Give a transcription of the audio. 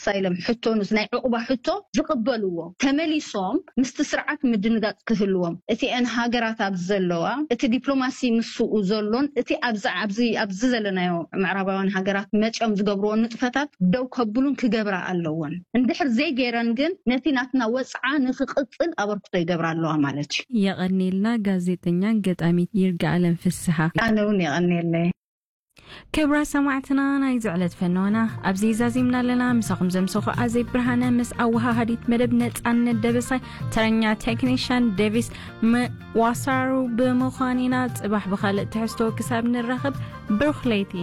ኣሳይለም ሕቶ፣ ምስ ናይ ዕቑባ ሕቶ ዝቕበልዎ፣ ተመሊሶም ምስቲ ስርዓት ምድንጋጽ ክህልዎም፣ እቲአን ሃገራት ኣብዚ ዘለዋ፣ እቲ ዲፕሎማሲ ምስኡ ዘሎን እቲ ኣብዚ ኣብዚ ኣብዚ ዘለናዮ ምዕራባውያን ሃገራት መጺኦም ዝገብርዎ ንጥፈታት ደው ከብሉን ክገብራ ኣለዎን። እንድሕር ዘይገይረን ግን ነቲ ናትና ወጽዓ ንክቕጽል ኣበርክቶ ይገብራ ኣለዋ ማለት እዩ። የቐኔልና ጋዜጠኛን ገጣሚት ይርጋኣለም ፍስሓ። ኣነ እውን የቐኔለይ። ክብራ ሰማዕትና፣ ናይ ዝዕለት ፈነዋና ኣብዚ ዛዚምና ኣለና። ምሳኹም ዘምሰኹ ኣዜብ ብርሃነ ምስ ኣወሃሃዲት መደብ ነጻነት ደበሳይ፣ ተረኛ ቴክኒሽያን ዴቪስ ዋሳሩ ብምዃን ኢና። ጽባሕ ብኻልእ ትሕዝቶ ክሳብ ንራኸብ፣ ብሩኽ ለይቲ።